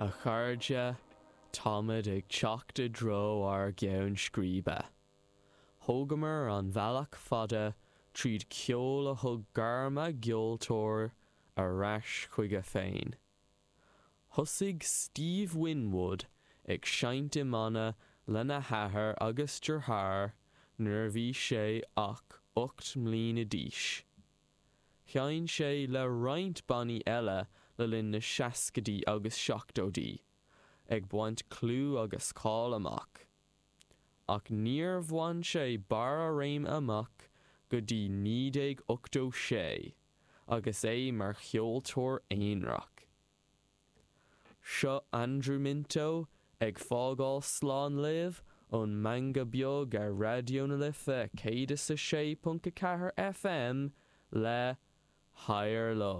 A chairde, táimid ag teacht i dtreo ár gceann scríbe. Thógamar an bealach fada tríd ceol a thug gairm a gceoltóir ar ais chuige féin. Thosaigh Steve Winwood ag seinnt i mbanna lena athair agus deartháir nuair a bhí sé ach 8 mbliana d'aois. Sheinn sé le roinnt bannaí eile le linn na seascaidí agus seachtóidí, ag baint clú agus cáil amach. Ach níor bhain sé barr a réime amach go dtí 1986, agus é mar cheoltóir aonarach. Seo Andrew Minto ag fágáil slán libh ón Meangadh Beag ar Raidió na Life 106.4 FM le Higher Love.